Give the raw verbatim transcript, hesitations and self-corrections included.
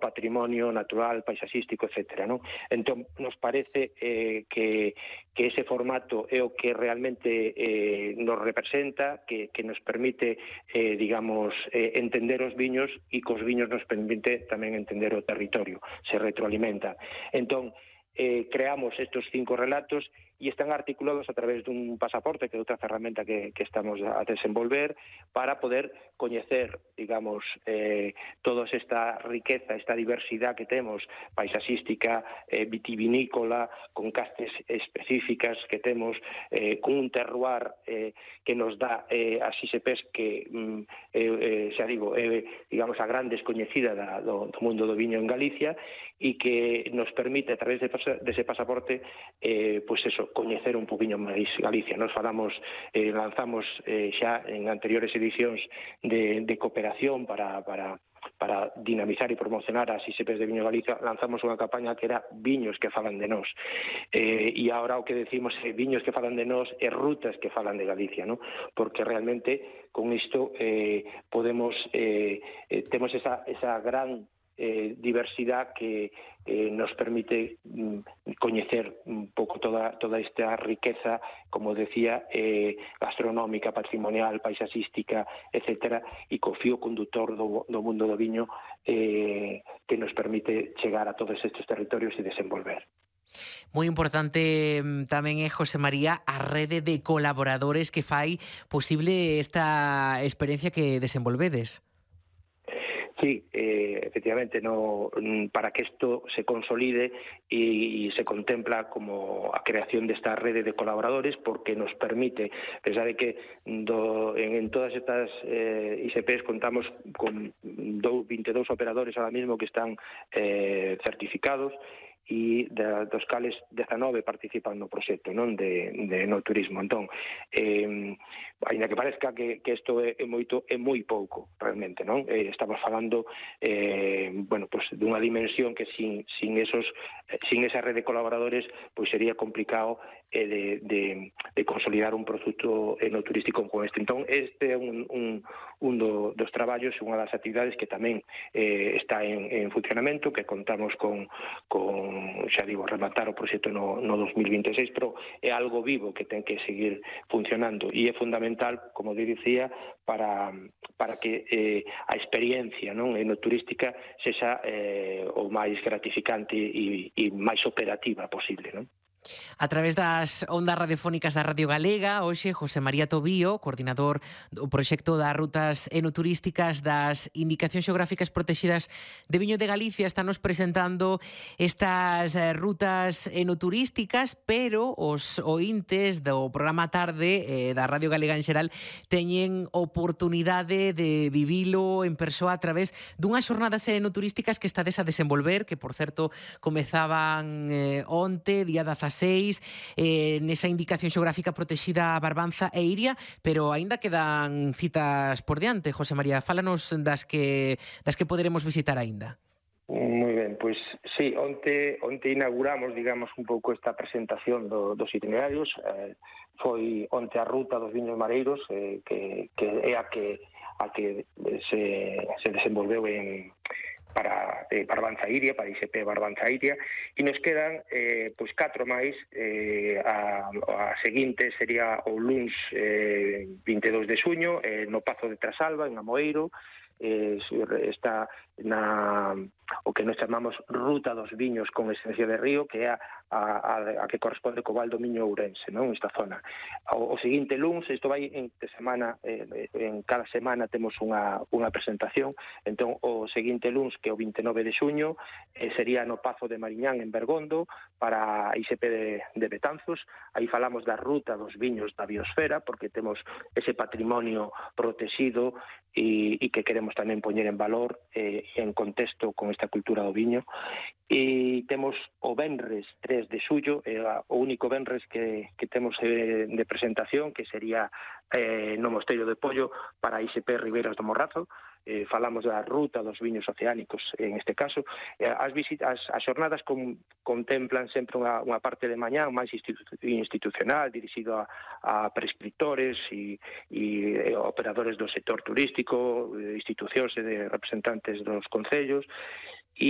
ao patrimonio natural, paisaxístico, etcétera, non? Entón, nos parece eh, que, que ese formato é o que realmente eh, nos representa, que, que nos permite, eh, digamos, eh, entender os viños e que os viños nos permite tamén entender o territorio, se retroalimenta. Entón, eh, creamos estes cinco relatos e están articulados a través dun pasaporte, que é outra ferramenta que, que estamos a desenvolver, para poder coñecer, digamos, eh, toda esta riqueza, esta diversidade que temos, paisaxística, eh, vitivinícola, con castes específicas que temos, eh, con un terroir eh, que nos dá eh, as I S Ps que, mm, eh, eh, xa digo, eh, digamos, a gran descoñecida da, do, do mundo do viño en Galicia, e que nos permite, a través de, de ese pasaporte, eh, pois eso, coñecer un poquinho máis Galicia. Nos falamos, eh, lanzamos eh, xa en anteriores edicións de, de cooperación para, para, para dinamizar e promocionar as I S Ps de Viño Galicia. Lanzamos unha campaña que era Viños que falan de nós, eh, e agora o que decimos é Viños que falan de nós e rutas que falan de Galicia, ¿no? Porque realmente con isto eh, podemos eh, eh, temos esa, esa gran Eh, diversidade que eh, nos permite mm, coñecer un pouco toda, toda esta riqueza, como decía, eh, gastronómica, patrimonial, paisaxística, etcétera, e co fío conductor do, do mundo do viño eh, que nos permite chegar a todos estes territorios e desenvolver. Moi importante tamén é, José María, a rede de colaboradores que fai posible esta experiencia que desenvolvedes. Sí, eh, efectivamente, no, para que isto se consolide e, e se contempla como a creación desta rede de colaboradores, porque nos permite, pensar que do, en, en todas estas eh, I S Ps contamos con do, veintidós operadores ahora mismo que están eh, certificados, e da, dos cales dezanove participan no proxecto, non, de, de no turismo. Entón, eh, ainda que parezca que, que isto é, é moito, é moi pouco, realmente, non? Eh, estamos falando, eh, bueno, pues, dunha dimensión que sin, sin esos, sin esa rede de colaboradores, pois sería complicado eh, de, de, de consolidar un produto enoturístico como este. Entón, este é un, un, un do, dos traballos, unha das actividades que tamén eh, está en, en funcionamento, que contamos con, con xa digo, rematar o proxecto no, no dos mil vinte e seis, pero é algo vivo que ten que seguir funcionando e é fundamental, como dicía, para, para que eh, a experiencia, non, enoturística sexa eh, o máis gratificante e, e máis operativa posible, non? A través das ondas radiofónicas da Radio Galega, hoxe José María Tobío, coordinador do proxecto das rutas enoturísticas das indicacións xeográficas protegidas de Viño de Galicia, estános presentando estas rutas enoturísticas, pero os ointes do programa Tarde eh, da Radio Galega en xeral teñen oportunidade de vivilo en persoa a través dunhas xornadas enoturísticas que estades a desenvolver, que, por certo, comezaban eh, onte, día dezaseis, eh, nesa indicación xeográfica protexida Barbanza e Iria, pero aínda quedan citas por diante. José María, fálanos das que das que poderemos visitar aínda. Moi ben, pois sí, onte, onte inauguramos, digamos, un pouco esta presentación do, dos itinerarios. Eh, foi onte a ruta dos viños mareiros, eh, que, que é a que, a que se, se desenvolveu en para eh, Barbanza Iria, para I S P Barbanza Iria, e nos quedan eh, pois catro máis. eh, a, a seguinte sería o luns eh, vinte e dous de xuño, eh, no Pazo de Trasalba, en Amoeiro. Eh, está na o que nos chamamos Ruta dos Viños con esencia de río, que é a, a, a que corresponde co Val do Miño Ourense, non? Esta zona. O, o seguinte luns, isto vai en semana, eh, en cada semana temos unha, unha presentación. Entón, o seguinte luns, que é o vinte e nove de xuño, eh, sería no Pazo de Mariñán, en Bergondo, para a I S P de, de Betanzos. Aí falamos da Ruta dos Viños da Biosfera, porque temos ese patrimonio protegido e, e que queremos tamén poñer en valor eh, en contexto con esta cultura do viño. E temos o venres tres de xullo, eh, o único venres que, que temos eh, de presentación, que sería eh, no Mosteiro de Pollo para a I S P Ribeiras do Morrazo. Eh, falamos da ruta dos viños oceánicos en este caso. Eh, as, visitas, as xornadas con, contemplan sempre unha, unha parte de mañá máis institu institucional, dirixido a, a prescriptores e, e operadores do sector turístico, institucións e de representantes dos concellos.